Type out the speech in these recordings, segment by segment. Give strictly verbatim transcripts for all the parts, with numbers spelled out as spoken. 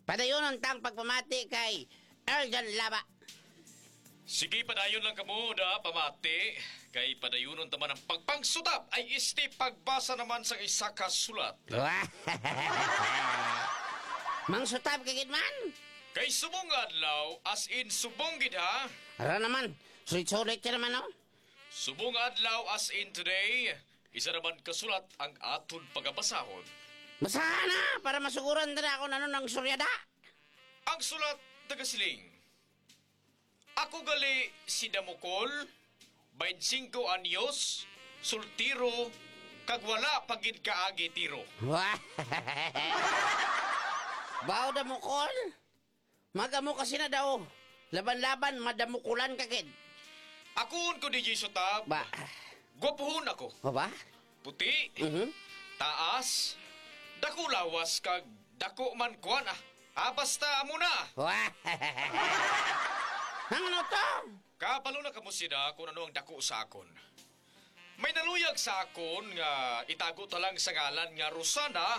Padayunon tang pagpamati kay Erjan Laba. Sige, padayon lang kamo da pamati, kay padayunon ta man ang pagpangsutab ay isti pagbasa naman sa isa ka sulat. Mangsutab ka gid man? Kay subong nga adlaw, as in subong gid, ha? Ara naman, sulit-sulit ka naman, no? Subong nga adlaw, as in today, isa naman ka sulat ang aton pagabasahon. Basaha na para masuguran ta na kung ano nang suryada. Ang sulat nagasiling, "Ako gali si Damukol, twenty-five anyos, soltero, kag wala pa gid kaagi tiro." Wah! Baw, Damukol? Magamo ka sina daw. Laban-laban, madamukulan ka gid. Akuon ko, D J Sutab. Ba? Gwapuhon ako. O ba? Puti, Mhm. taas, dako lawas, kag dako man kuan, ah. Ah, basta amo na. Wah! Ang ano to? Kabalo na kamo sila kung ano ang dako sa akon. May naluyag sa akon nga itago ta lang sa ngalan nga Rosana,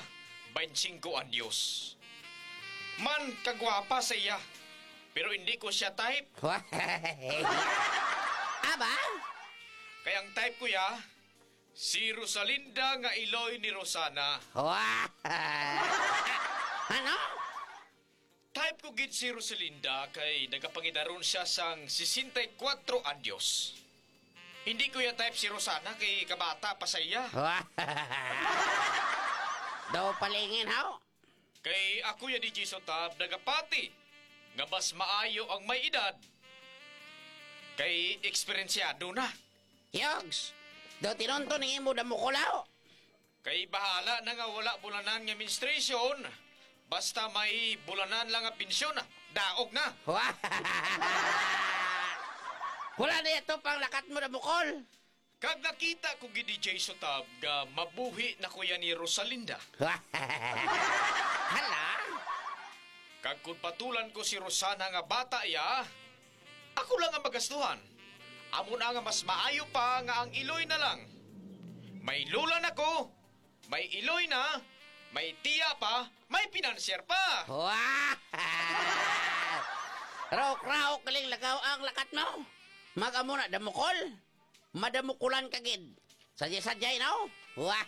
twenty-five anyos. Man kagwapa sa iya, pero hindi ko siya type. Aba? Kay ang type ko ya, si Rosalinda nga iloy ni Rosana. Wah! Ano? Type ko gid si Rosalinda kay nagapangidaron siya sang sesenta y kuwatro anyos. Hindi ko ya type si Rosana kay kabata pa sa iya. Daw palingin, haw? Kay ako ya, D J Sutab, nagapati nga mas maayo ang may edad kay eksperensyado na. Yogs, daw tinunto ning imo damukulaw. Kay bahala na nga wala bulanan nga menstruation, basta may bulanan lang nga pensyon, daog na. Wala na ito pang lakat mo na bukol. Kag nakita ko gid, D J Sutab, nga mabuhi na ko yan ni Rosalinda. Hala? Kag kung patulan ko si Rosana nga bata iya, ako lang ang magastuhan. Amo na nga mas maayo pa nga ang iloy na lang. May lula na ko, may iloy na, may tiya pa, may financier pa. Wow! Raok-raok galing lagaw ang lakat mo. Mag-amo na damukol. Madamukulan ka gid. Sadya-sadya, no? Wow!